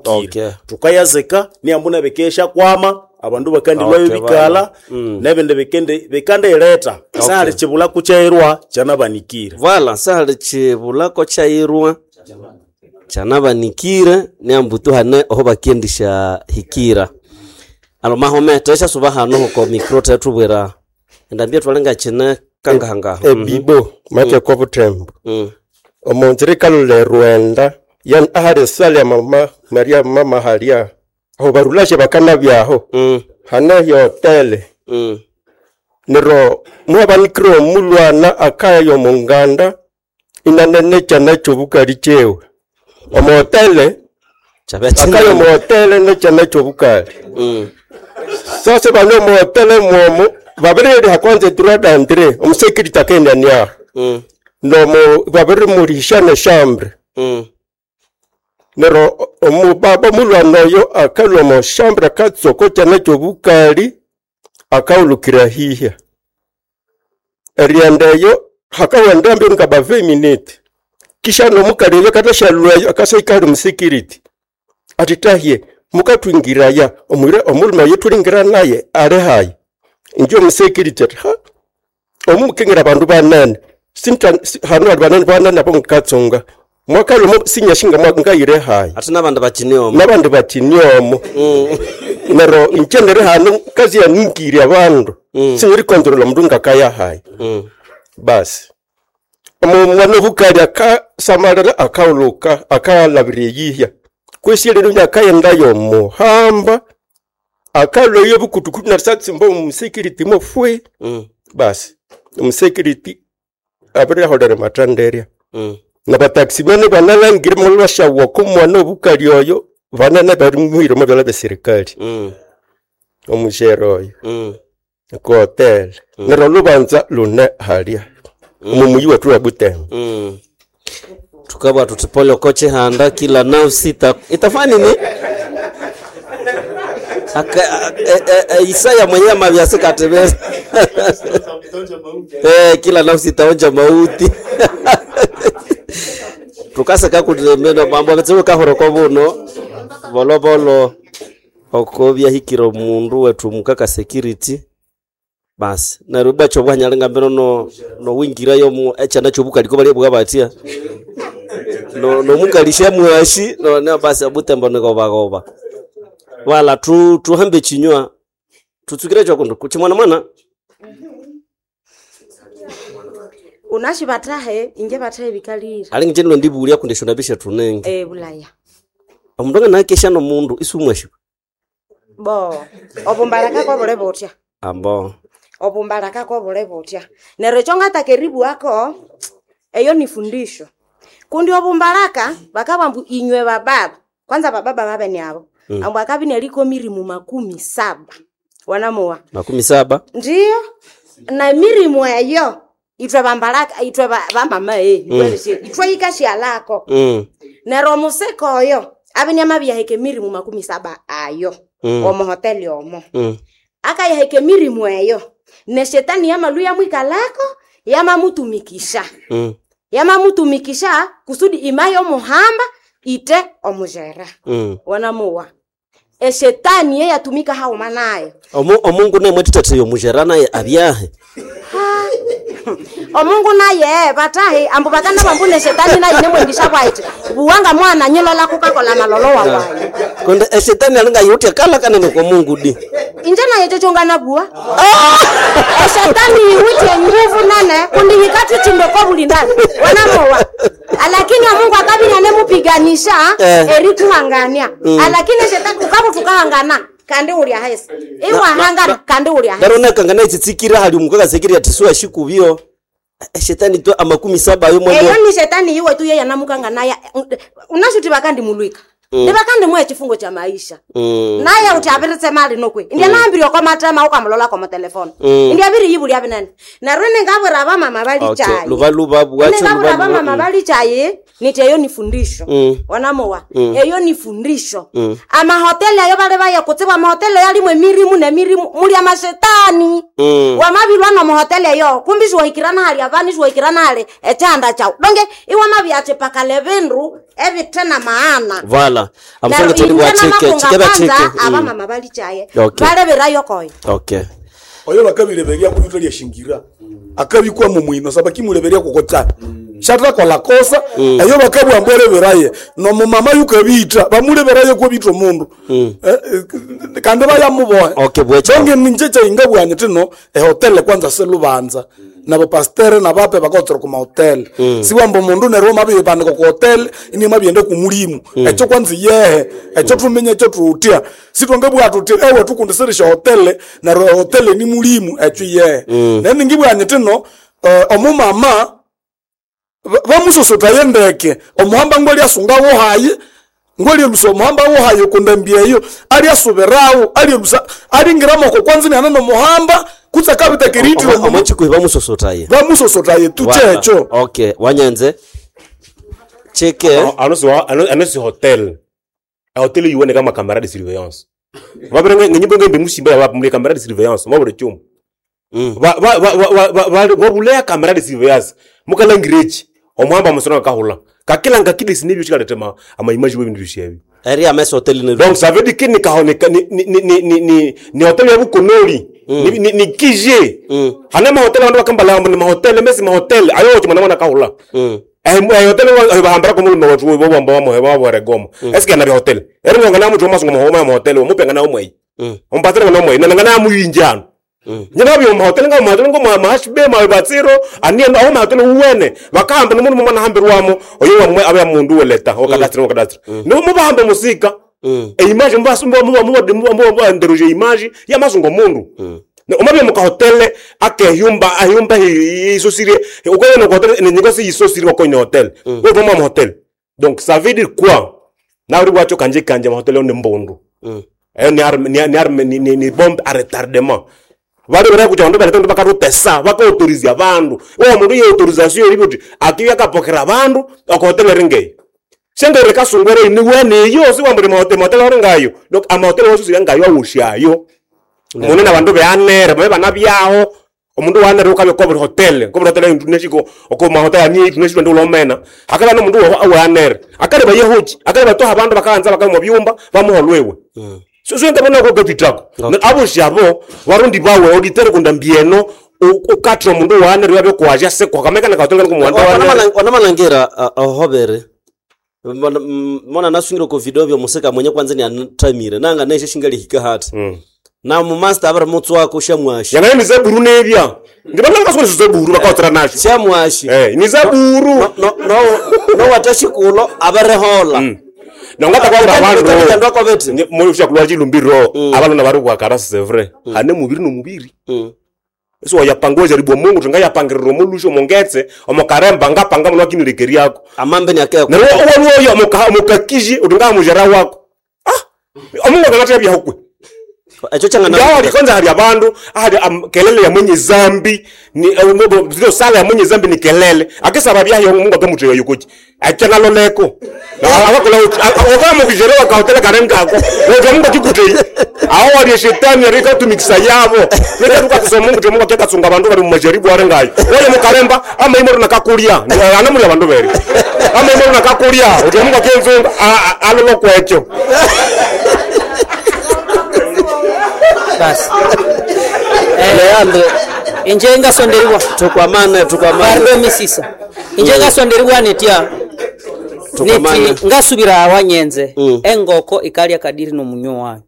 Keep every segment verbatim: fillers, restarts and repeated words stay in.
Inahukire. Okay. Tukayazika niambu nebikesha kwama abandu bakandilwayo Okay, bikala bana. Mm. nebindi bikindi bikandireta sahali chibulaku chairwa chanabanikire. Vala sahali chibulako chairwa chanabanikire niambu hane oho bakiendisha hikira alo mahome tweshasuba hano huko mikro tetubwira endambia twalenga chine kangahangaho. Ebibo make kwa butembo mm. omunzira ikalula erwenda yani ahali esala ya mama Maria mama halia aho barulashe bakanabyaho mm. hane yotele mm. nero mwabanikire omulwana akaya omunganda inanene chana kyobukali kyewe omuhotele Chabya akaya omuhotele nekyana kyobukali mm. sasa bane omuhotele mwomo babiririha kwanza edroit d'entrée omusekiriti akendaniaho mm. nomo babirimurisha neshambre mm. nero omubaba omulwana oyo akalwa omushambre akatsoko kyana kyobukali akawulukira hihya erienda eyo hakawenda mbyo nga ba minute kisha nomukali oyo katashalwayo akasaikali omusekiriti ati tahye mukatwingiraya omwira omuluma oyo tulingira naye ali hayi injo omusekiriti ati ha omumukingira abandu banene sinta si- hanu ali banene banene abo ngikatsunga mwakalumo sinyashinga ngayire hayi ate n'abandi bakiniomo nabandi bakiniomo nero inje neri hanu kazi yaningire abandu Mm. sinyirikontrola omundu ngakaya hayi mm. basi omwana obukali akasamalira akauluka akalabira eyihya kwesi lero nyakayendayo omuhamba akalwayo obukutukutu narisatsimba omusekiriti mofwe mm. basi omusekiriti abiriholera matanderya mm. nabatakisi bene banalangire mulwashawa komwana obukali oyo banene barimuhire omu byala bya serikali mm. omushere oyo mm. kuhotele neryo lubanza lune halya omumuyi wetu wa Butembo. mm. tukabwa tutipole oko chihanda kila nafsi ita, itafanya nini Aka, e, e, e, Isaya mwenyewe mavyasikatemeza eh, kila nafsi itaonja mauti tukaseka kutemeno mambo ametsewe kahoroko buno bolobolo oko byahikire omundu wetu mukaka security basi neryo bwacho bwanyalinga mbino no nowingirayo mu echana chobukaliko bali bwa batia no nomukalisha mwashi no ne basi abutembo nikobagoba wala tu tuhambe chinywa tutsukire chokundu kuchimwana mwana unashi batahe inje batahe bikalira ali nje ndibulia kundeshona bisha tunenge e bulaya omundu anganakesha nomundu isumwashi bo obumbalaka kobule butya ambo obumbalaka kobule butya neryo ekyo ngatakeribwako eyo ni fundisho kundi obumbalaka bakabwa mbu inywe bababa kwanza bababa babene abo mm. ambu akabi neliko mirimu makumi saba wanamuwa makumi saba ndiyo na mirimu eyo itwe bambalaka itwe ba- bamama e mm. itwe ikashialako mm. nero omusika oyo abinyama byaheka emirimu makumi saba ayo Mm. omuhoteli omo Mm. akayaheka emirimu eyo ne shetani yamalu yamwikalako yamamutumikisha Mm. yamamutumikisha kusudi imaye omuhamba ite omujera Mm. wanamuwa eshetani ye yatumika hauma nayo Omu, omungu nemwe titateyo mujera naye abyahe omungu naye batahi ambu bakana bambu ne shetani naye nemwengisha bwaiti buwanga mwana nyilola kukakola malolo wawayo konde eshetani alinga yutya kala kanene kwa mungu di inje naye chochongana bua eshetani iwite nguvu nene kundi hikatuchimbe kwa bulindani wanamowa alakini omungu akabinya nemupiganisha Eh. erituhangania alakini shetani ukabu tukahangana kandi ulya hesi iwahangana kandi ulya hesi ndaro nakangana echitsikira hali omukaka sekiri tisuwa shikubyo eshetani to amakumi saba ayo eyo mwendo ni shetani iwe tu yeye anamukanga naye unashuti bakandi mulwika mm. ndibakandi mwe chifungo cha maisha Mm. naye uti abiritse mali nokwe indya mm. naambiri oko matema ukamulola komo telefoni Mm. indya abiri yibuli abinene neryo ningabwira abamama Okay, balichayi luba luba bwacho ningabwira luba abamama luba balichayi niti eyo ni fundisho Mm. wanamowa Mm. eyo ni fundisho Mm. amahoteli ayo bali baya kutsiba amahoteli yalimwe emirimu nemirimu muli amashetani Mm. wamabilwa nomuhoteli eyo kumbi siwahikirana hali avani siwahikirana hali echanda chau donge iwamabyachipakala ebindu Ebite na maana. Vala. Amusonge tuli bwa chike, chike ba chike. Aba mama balichaye. Okay. Baleberayo koyo. Okay. Oyo bakabireberia kuyuta lya shingira. Akabikwa mu mwino saba kimuleberia kokota. Shatra kola kosa eyo bakabwa mbweleberaye no mumama yukabita bamuleberaye ko bito mundu. Eh, eh, kandi bayamubohe. Okay, bwecha. Bonge ninje inga bwanye tino e hotel kwanza selubanza. Nabo pastere nabape bakotsera ku hotel. Siwambo mundu nero mabiye bandika ku hotel ini mabiende ku mulimu. Echo kwanza yehe echo tumenye echo tutia. Sitonge bwa tuti ewe tukundiserisha hotel na ro hotel ni mulimu echo yehe. Nene ngibwanye tino eh, omumama bamusosota yendeke omuhamba ngwali asunga wohaye ngwali elusa omuhamba wohaye kundambia eyo ali asubirawo ali elusa alingiramo kwanza ni anano muhamba kutsa kabita kiritiro Omo chikuhi bamusosotaye. bamusosotaye tuchecho Okay, wanyenze. Chike. Ano si ano ano si hotel. A hotel yuone kama camera de surveillance. Babere ngenyimbo ngembe musimba ya mule camera de surveillance mabure chuma. Mm. Ba ba ba ba ba ba bulea camera de surveillance. Mukala ngirechi. Omuhamba musona kahula. Kakila ngakide sinibyo chikaletema ama image we bintu bishebe. Eri amesa hotel ni. Donc ça veut dire que ni kahone ni ni ni ni ni ni hotel ya bukonoli. Ni ni ni kije. Mm. Hana ma hotel bandu bakambala ni ma hotel mesi ma hotel ayo chimana mwana kahula. Mm. Eh eh hotel wa bahambara ko mulume watu bo bamba wa mohe wa regomo. Eske na hotel. Eri ngana mutu masungo mo ma hotel mo penga na omwe. Mm. Ompatira na omwe na ngana muyinjano. Mm. Nyina byo ma hotel nga ma hotel ngo ma mahashbe ma batsiro ani aho ma hotel uwene bakahamba no mundu mwana hambirwamo oyo wamwe abe mundu weleta o kadastre o kadastre. No mo bahamba musika. Mm. E image mbasumba mo mo mo mo nderoje image ya masungo mundu. Mm. Omabye muka hotel ake yumba ayumba isosire ukoye no hotel ni ngosi isosire ko ni hotel. Wo voma mo hotel. Donc ça veut dire quoi? Na uri wacho kanje kanje ma hotel on mbundu. Mm. Ayo ni arme ni ni arme ni ni, ni bombe à retardement. Bari bari kuja ndo bari ndo bakarutesa baka autorize abandu. Wo mundu ye autorisation iri kuti akiya kapokera abandu ako hotel ringei. Sengere kasungwere ni wene yo si wambere ma hotel ma hotel ringayo. Donc ama hotel wosu ngayo awushayo. Mune na bandu beanere babe banabyaho omundu wanere ukabe ko hotel ko hotel tuneshiko oko ma hotel ni tuneshiko ndo lomena akaba no mundu wanere akale bayehuki akale batoha abandu bakaanza bakamu byumba bamuholwewe. Mm. So so ndabona ko gatitako abo shabo warundi bawe auditeur kunda mbieno ukatra mundu wanere yabe kwaja se kwa kameka na hotel ko mwanda wanere Onamanangira ahobere. Mona nasungire ko video byo musika mwenye kwanza ni antamire nanga neshe shingali hika hati. Mm. Na mu master abara mutsu wako shamwashi. Yangane ni zaburu nebya ndibana kasona zaburu bakaotra nasho. Shamwashi. Eh ni zaburu. No no no no watashikulo abarehola. Mm. Nongata kwa abantu Ndo kwa beti. Mo usha kulwa chilumbiro abalona bari kwakara c'est vrai hane mubiri no mubiri. Mm. So yapangwa jaribu Mungu tunga yapangiriro mulusho mongetse omokaremba ngapanga muno kinilekeri yako. Amambe ni akaya. Na wo wo yo moka mokakiji utunga mujara wako. Ah omungu akatya bya hukwe. Echo changa na Ngawa kwanza hali abandu hali kelele ya mwenye zambi ni zio sala ya mwenye zambi ni kelele akisaba bya yo Mungu akamutega yukoki achana loleko na abakola oba mukijerewa ka hotel karengako wo Mungu akikutei aho wali shetani arika tumikisa yabo leka tuka kusoma Mungu Mungu akatsunga abandu bali mu majaribu arengayo wewe mukaremba ama imoro nakakulia anamuli abandu beri ama imoro nakakulia uti Mungu akenzunga alolo kwecho Basi. Leandre Inje ngasonderwa. tukwamane tukwamane Barbe misisa. Inje ngasonderwa netya. Tukwamane. Neti ngasubira awanyenze. Mm. Engoko ikalya kadiri no munyo wayo.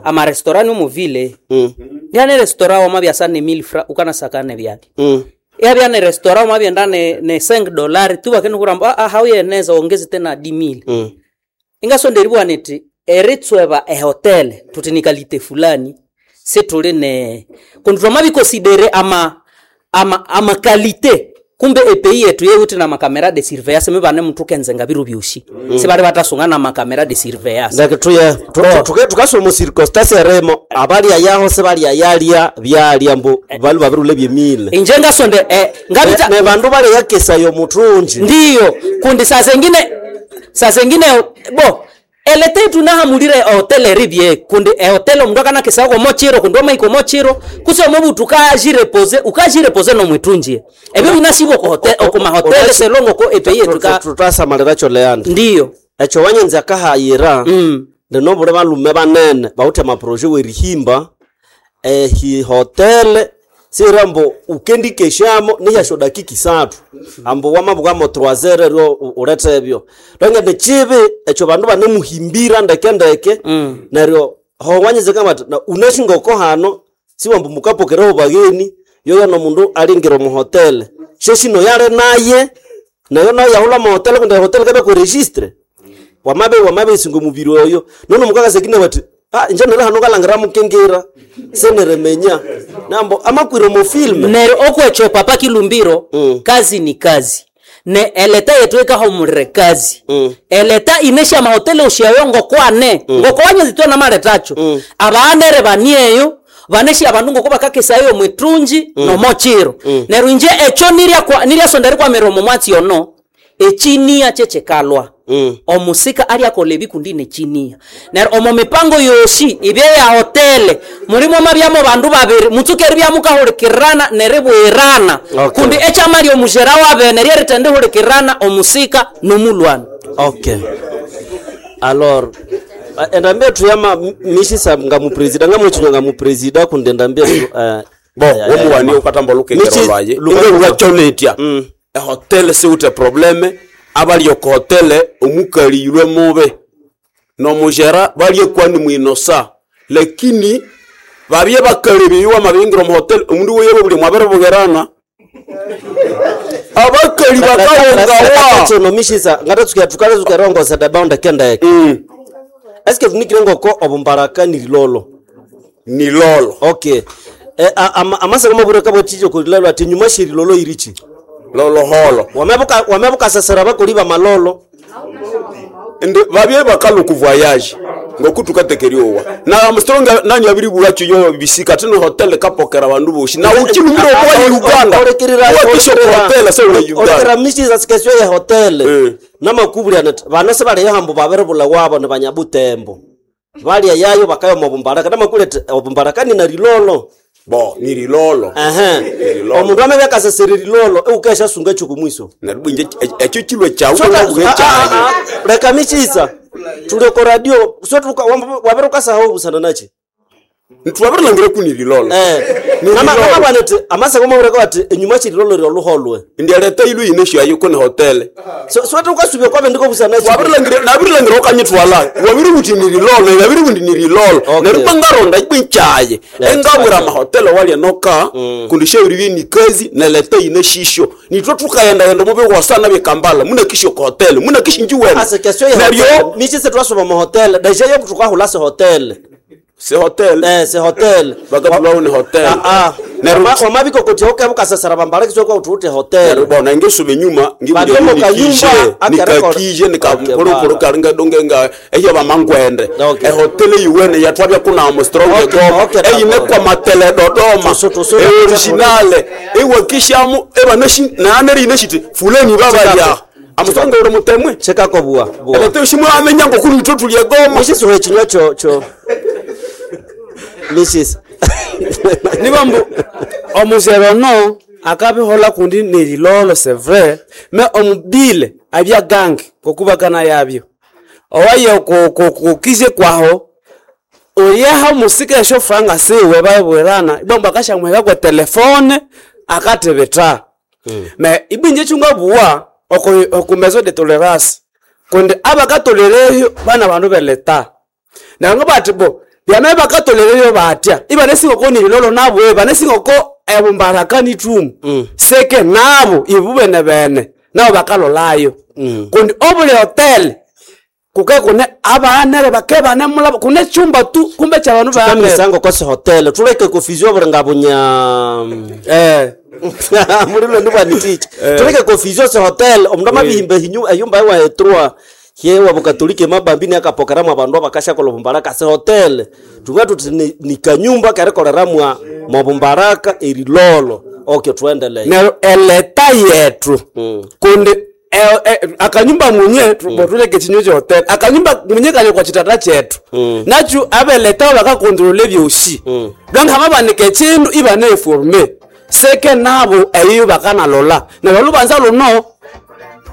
Ama restaurant mu ville. Mm. Byane restaurant wama byasa ne mille francs ukana sakane byali. Mm. Ya byane restaurant wama byenda ne ne cinq dollars tu bakene kuramba ah hauye neza ongeze tena dix mille. Mm. Ingasonderwa neti eritsweba e hotel tutinikalite fulani setule ne kundwa mabikonsidere ama ama ama kalite kumbe epeyi yetu yewuti na makamera de surveillance mibane muthu kenzenga biru byoshi mm. sibali batasunga na makamera de surveillance Ndake tuye tuke tukasoma circumstance remo abalya yaho se balya yalya byalya mbu balu babirule byemile. inje ngasonde eh, ngabita Ne bandu bale yakesa yo mutunji. ndiyo kundi saa zengine saa zengine bo Eleta yetu nahamulire ehotele eribye kundi ehotele omundu akanakesako mochiro kundi wamaiko mochiro kusi omobutu ukajirepose ukajirepose nomwitunjie ebyo binasibwa okumahotele selongo ko epeyi yetu ka tutasamalira kyo leandre ndiyo ekyo wanyenza akahayira mm. ndinobule balume banene bawithe amaproje werihimba ehihotele sira mbu ukendikeshamo nihyasho dakika isathu ambu wamabukamo trois ryo ulete ebyo donge chibi ekyo bandu banemuhimbira ndeke ndeke Mm. neryo ho wanyeze kama na unashingoko hano siwambu mukapokereho bageni yoyo nomundu alingira omuhotele sheshino yale naye nayo nayo yahula muhotele kundi ehotele kabe kuregistre wamabe wamabe isingo mubiri oyo nono mukakasekine bati ah nje nere hano kalangira mukengera seneremenya nambo amakwire mu filme neryo okwecho papa kilumbiro Mm. kazi ni kazi ne eleta yetu ikahumulire kazi Mm. eleta inesha mahotele ushiayo ngokwane mm. ngokwanye zitwe namaletacho mm. abaanere banieyo baneshi abandu ngoko bakakesayo mwitunji mm. nomochiro mm. neryo inje echo nirya kwa niryasonda rikwamira omo mwatsi ono echinia chechekalwa Mm. omusika alyakola ebikundi nechinia neryo omo mipango yosi ibye ya hotele mulimo mabyamo bandu babiri mutsuke eribyamukahulikirana neribwirana Okay. kundi ekyamali omujera wabene ryerithendihulikirana omusika nomulwana okay alors endambi ethu yama mishisa nga mupresida nga mwechinywa nga mupresida kundi endambi ethu eh, bo ya- ya- womuwani ya- ukatamba olukengero Michi- lwaye luka- inge lwacholetya Mm. ehotele siwuthe probleme abali oko hotele omukali yulwe mube nomujera balye kwani mwinosa lakini babye bakalebiwa mabingira omuhotele omundu weyebe buli mwabiribugerana abakali bakahongawa Kino mishisa ngatatsuka tukale rongosa dabaunda kendeke Mm, eske tunikire ngoko obumbaraka ni lilolo ni lolo okay e, a- ama- amasako mabure kabweticho kulilalo ati nyuma shiri lolo irichi loloholo wamebuka wamebukasasira bakoli ba malolo ndi babye bakaluku voyage ngokutukatekeriowa na Armstrong nani abiribulacho yo bisika tino hotel kapokera bandu boshi na ukilumira okwa Uganda wakisho hotel se ule olekera Uganda mishisa sikesyo ya hotel Eh. namakubuli anati bana sebalya hambo babiribula wabo ni banyabutembo balya yayo bakaya mobumbaraka namakubuli ati obumbaraka ni na lilolo bo ni lilolo ehe Lilolo. omundu amebekasasira lilolo eukesha sunga ekyo kumwiso naribwinje ekyo kilwe chawu Soka- buhe ah, ah, chaye ah, leka michisa tuli ko radio so wabere ukasaho busana nachi ntwabirilangire kuni lilolo eh Ni nama lilolo. nama bwanete amasako mabure ati enyuma chililolo lyo luholwe ndialeta ilu inesho yayo kuni hotel so so tukasubye kwabe ndiko busana nachi wabirilangire nabirilangire okanyitwala wabiri buti ni lilolo nabiri buti ni lilolo Okay. neryo ngaronda ibwinchaye Yeah, engabwira okay. amahotelo walya noka kundi sheuri bye ni kazi neleta ine shisho nitwo tukayendaghenda mubi wasana byekambala muna kisho ko hotel muna kishinji wena ase kesyo ya neryo hotel michisa twasoma mu hotel deja yo tukahula se hotel se hotel eh se hotel bakatulawo ni hotel ah ah neryo wamabiko kuti okebukasasira bambala kiswe kwa utute hotel neryo bona ngesoma enyuma Babye mu ngibunikije kayumba, akarekora. nikakije Okay, nikakorokoro bala. kalinga donge nga eyo bamangwende Okay. ehotele yiwene yatwabya kuna Armstrong Okay, Dodoma okay, eyine d'accord. kwa matele Dodoma Tusu- tusu- eoriginale ewakishamu ebanashi naaneri ineshiti fuleni babalya Armstrong uri mutemwe chekako bua bua elete shimwe amenya ngokuri itwo tulye goma mishisa uhechinywa cho cho mishisa nibambu omuzero no akabihola kundi nelilolo c'est vrai me omubile abya gange kokubakana yabyo owaye kukize kwaho oyeha omusika esyo franga siwe babwirana ibambu akashamweka kwa telefone akatibita me ibinje chunga buwa oku oku maison de tolerance kundi abakatolereyo bana bandu beleta nango bati bo byame bakatolereyo batya ibanesingoko nililolo nabwe banesingoko ebumbaraka nitumu mm. seke nabo ibu bene bene nabo bakalolayo mm. kundi obuli hotel kuke kune abanere bake bane mulabo kune chumba tu kumbe cha bandu banere kamisango kose hotel tuleke kofizio buringa bunya eh mulilo ndibwaniticha tuleke kofizio se hotel omundu amabihimba hinyu eyumba ewahetrwa hye wabukatolike mabambini akapokeramwa abandu abakashakola obumbaraka se hotel tunga tuti ni, ni kanyumba karikoleramwa mobumbaraka erilolo okay tuendelee neryo eleta yetu Mm. kundi eh, eh, akanyumba munye mm. tuleke chinyo cha hotel akanyumba munye kali kwa chitata chetu mm. nachu abeleta bakakontrole byoshi mm. donc hamabanike chindu ibane informe seke nabo eyo bakanalola na balubanza luno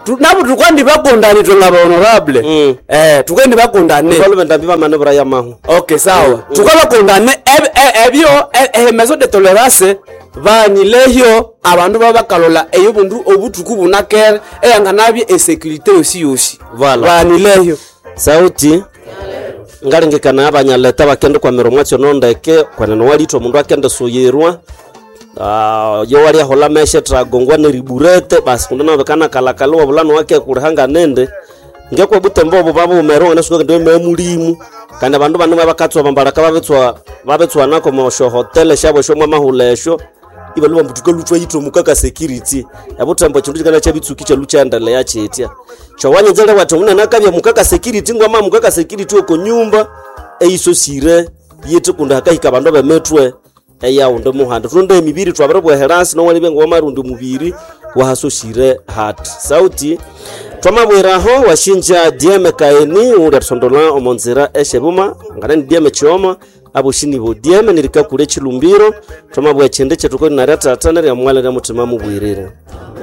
tu- nabo tukandi bakondani twenga ba honorable Mm. eh tukandi bakondane Balume ndambi bamane buraya mahu okay sawa tukabakondane eb- e- ebyo e- e- maison de tolerance banilehyo abandu babakalola eyo bundu obutuku bunakere eyanganabye esecurite yosi yosi Voilà. banilehyo Sauti ngalengekana abanyaleta bakende kwamira omwatsi ono ndeke kwenene walitha omundu akende suyirwa. Ah, yo waliahola meshe tragongwa neriburete basi kundi nabikana kalakala wabulano wake kulihanga nende ngekwa butembo obo babumerwa nasuka ndi memulimu kandi abandu bano bakatswa bambalaka babetswa babetswa nako mosho hotel shabo sho mwamahula esho ibaluba mbutuka lutwa yitho mukaka security ebutembo chindu chikana chabitsuki chalu chaendelea chitya chowanyenzele wati unene akabya mukaka security ngwama mukaka security oko nyumba eisosire yithe kundi hakahika abandu bemetwe eyaundi muhanda tunde emibiri twabiribweherasi nowalibya ngowamarundi mubiri wahasosire hati sauti twamabwiraho washinja dm kaeni uli atusondola omonzira eshebuma nganani dm chioma aboshinibo dm nirikakule chilumbiro twamabwa echindi chetuko naria tata nerya mwala rya mutima mubwirire.